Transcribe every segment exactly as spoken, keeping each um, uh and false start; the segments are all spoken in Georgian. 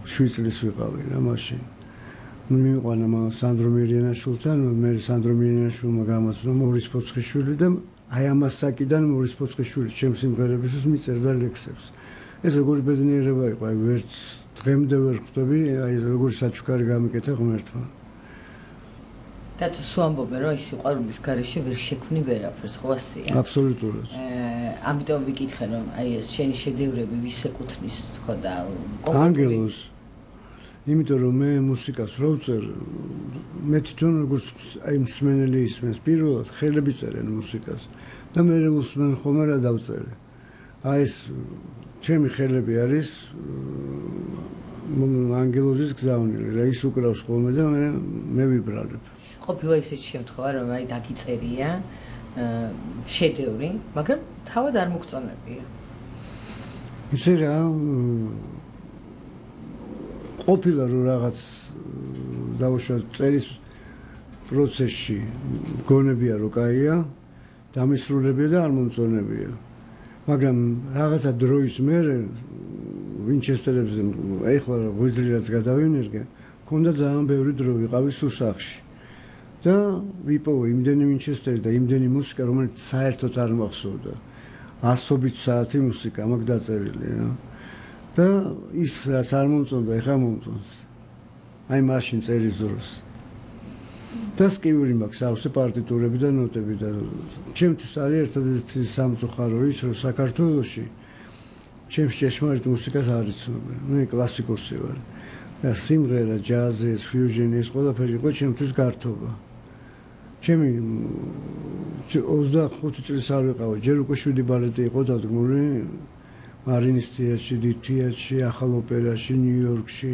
შვიდ წლის ვიყავი რა მაშინ. მივიყვანა მაგ სანდრო მირიანაშვილთან, მე სანდრო მირიანაშვილმა გამოსცნო მორის ფოცხიშვილი და აი ამას საკიდან მორის ფოცხიშვილი ჩემს სიმღერებისთვის მიწერდა ლექსებს. ეს როგორი ბედნიერება იყო, აი ვერც დღემდე ვერ ხვდები, აი როგორი საჩუქარი გამიკეთა ღმერთმა. და თუ სვამბობენ რომ ის სიყვარულის გარეშე ვერ შექმნი ვერაფერს, ხო ასეა? აბსოლუტურად. ამიტომ ვიკითხე რომ აი ეს შენი შედევრები ვის ეკუთვნის თქო და ანგელოს. იმიტომ რომ მე მუსიკას რო ვწერ, მე თვითონ როგორც აი მსმენელი ისმენს, პირველად ხელები წერენ მუსიკას და მე უსმენ ხოლმე რა დავწერე. აი ეს ჩემი ხელები არის ანგელოზის გზავნილი, რა ის უკრავს ხოლმე და მე მე ვიბრალებ. ყოფილა ისეთი შემთხვევა რომ აი დაგიწერია შედევრი, მაგრამ თავად არ მოგწონებია. ისე რა ყოფილა რომ რაღაც დავუშვათ წერის პროცესში გონებია რომ კაია, დამისრულებია და არ მომწონებია. მაგრამ რაღაცა დროის მერე ვინჩესტერებზე ეხლა ღვიძლი გადავინერგე, მქონდა ძალიან ბევრი დრო ვიყავი სუსახში. და ვიპოვე იმდენი ვინჩესტერი და იმდენი მუსიკა, რომელიც საერთოდ არ მახსოვდა. ასობით საათი მუსიკა მაქვს დაწერილი რა. და ის რაც არ მომწონდა, ეხლა მომწონს. აი მაშინ წერის დროს. და სკივილი მაქვს ავსე პარტიტურები და ნოტები და ჩემთვის არის ერთადერთი სამწუხარო ის, რომ საქართველოში ჩემს ჭეშმარიტ მუსიკას არ იცნობენ. მე კლასიკოსი ვარ. და სიმღერა, ჯაზი, ფიუჟენი, ეს ყველაფერი იყო ჩემთვის გართობა. ჩემი ოცდახუთი წლის არ ვიყავი, ჯერ უკვე შვიდი ბალეტი იყო დადგმული მარინის თეატრში, დიდ თეატრში, ახალ ოპერაში, ნიუ-იორკში.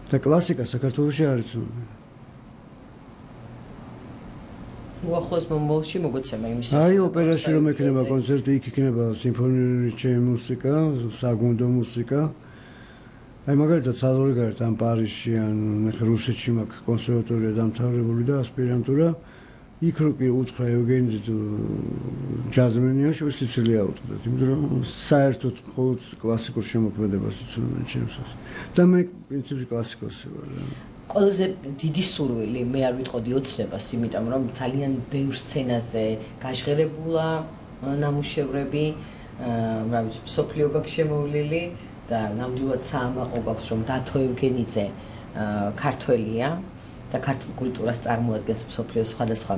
და კლასიკა საქართველოში არ იცნობენ. უახლოეს მომავალში მოგოცემა იმის. აი ოპერაში რომ ექნება კონცერტი, იქ იქნება სიმფონიური ჩემი მუსიკა, საგუნდო მუსიკა. აი მაგალითად საზღვარგარეთ ან პარიზში ან ახლა რუსეთში მაქვს კონსერვატორია დამთავრებული და ასპირანტურა. იქ რო კი უთხრა ევგენი ჯაზმენიაში სიცილია უთხრათ, იმიტომ რომ საერთოდ მხოლოდ კლასიკურ შემოქმედებას იცნობენ ჩემსას. და მე პრინციპში კლასიკოსი ვარ. ყველაზე დიდი სურვილი მე არ ვიტყოდი ოცნებას, იმიტომ რომ ძალიან ბევრ სცენაზე გაჟღერებულა ნამუშევრები, რა ვიცი, სოფლიო გაქვს შემოვლილი და ნამდვილად საამაყო გაქვს რომ დათო ევგენიძე ქართველია და ქართულ კულტურას წარმოადგენს სოფლიოს სხვადასხვა.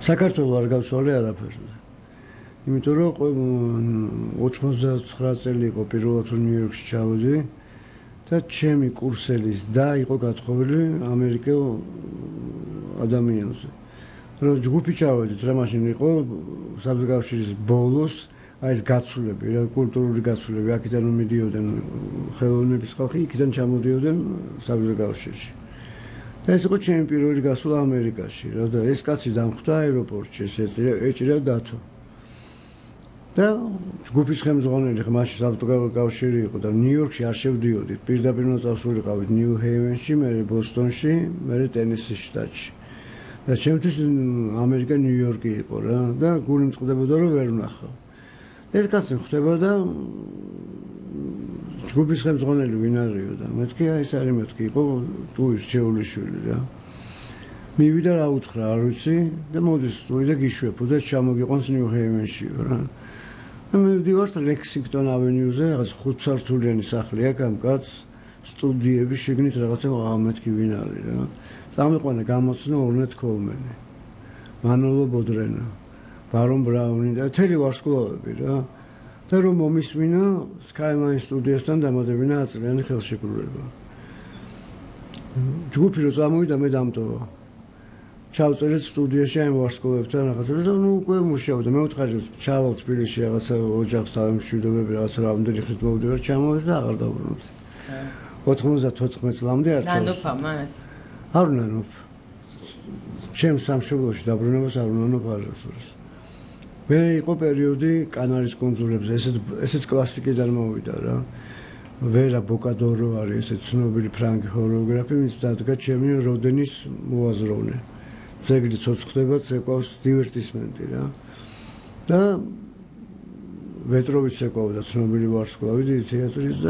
საქართველოს არ გავცვალე არაფერზე. იმიტომ რომ ოცდაცხრა წელი იყო პირველად რომ ნიუ-იორკში ჩავედი და ჩემი კურსელის და იყო გათხოვილი ამერიკელ ადამიანზე. რომ ჯგუფი ჩავედით რა მაშინ იყო საბჭოთა ბოლოს აი ეს გაცვლები, რა კულტურული გაცვლები, აქედან რომ მიდიოდნენ ხელოვნების ხალხი, იქიდან ჩამოდიოდნენ საბჭოთა კავშირში. და ეს იყო ჩემი პირველი გასვლა ამერიკაში, რა და ეს კაცი დამხვდა აეროპორტში, ეწირა ეჭირა დათო. და ჯგუფის ხელმძღვანელი ხა მაშინ საბჭოთა კავშირი იყო და ნიუ-იორკში არ შევდიოდით. პირდაპირ უნდა წავსულიყავით ნიუ-ჰეივენში, მერე ბოსტონში, მერე ტენესის შტატში. და ჩემთვის ამერიკა ნიუ-იორკი იყო რა და გული მწყდებოდა რომ ვერ ვნახავ. ეს კაცი ხდება და ჯგუფის ხელმძღვანელი ვინ არისო და მეთქი აი ეს არის მეთქი იყო ტუის ჩეულიშვილი რა. მივიდა რა უთხრა არ ვიცი და მოდის ტუი და გიშვებო და ჩამოგიყვანს ნიუ-ჰეივენში რა. და მე ვდივართ ლექსინგტონ ავენიუზე, რაღაც ხუთსართულიანი სახლი აქვს ამ კაცს, სტუდიები შეგნით რაღაცა მეთქი ვინ არის რა. წამიყვანა გამოცნო ორნეთ კოლმენი, მანოლო ბოდრენა, ბარონ ბრაუნი და თელი ვარსკვლავები რა. და რომ მომისმინა სკაილაინ სტუდიასთან დამატებინა აწლიანი ხელშეკრულება. ჯგუფი რო წამოვიდა მე დამტოვა. ჩავწერეთ სტუდიაში აი ვარსკვლავებთან რაღაცა და ნუ უკვე მუშაობდა. მე ვთხარი ჩავალ თბილისში რაღაცა ოჯახს თავმშვიდობები რაღაცა რამდენი ხნით მოვდივარ ჩამოვედა და აღარ დავბრუნდი. ოთხმოცდათოთხმეტ წლამდე არ ჩავშ. ნანოფა მას? არ ნანოფ. ჩემ სამშობლოში დაბრუნებას არ ნანოფ არასდროს. მე იყო პერიოდი კანარის კუნძულებზე, ესეც ესეც კლასიკიდან მოვიდა რა. ვერა ბოკადორო არის ესეც ცნობილი ფრანგი ხორეოგრაფი, ვინც დადგა ჩემი როდენის მოაზროვნე. ძეგლი ცოცხლდება, წეკვავს დივერტისმენტი რა. და ვეტროვიც ეკავდა ცნობილი ვარსკვლავი დიდი თეატრის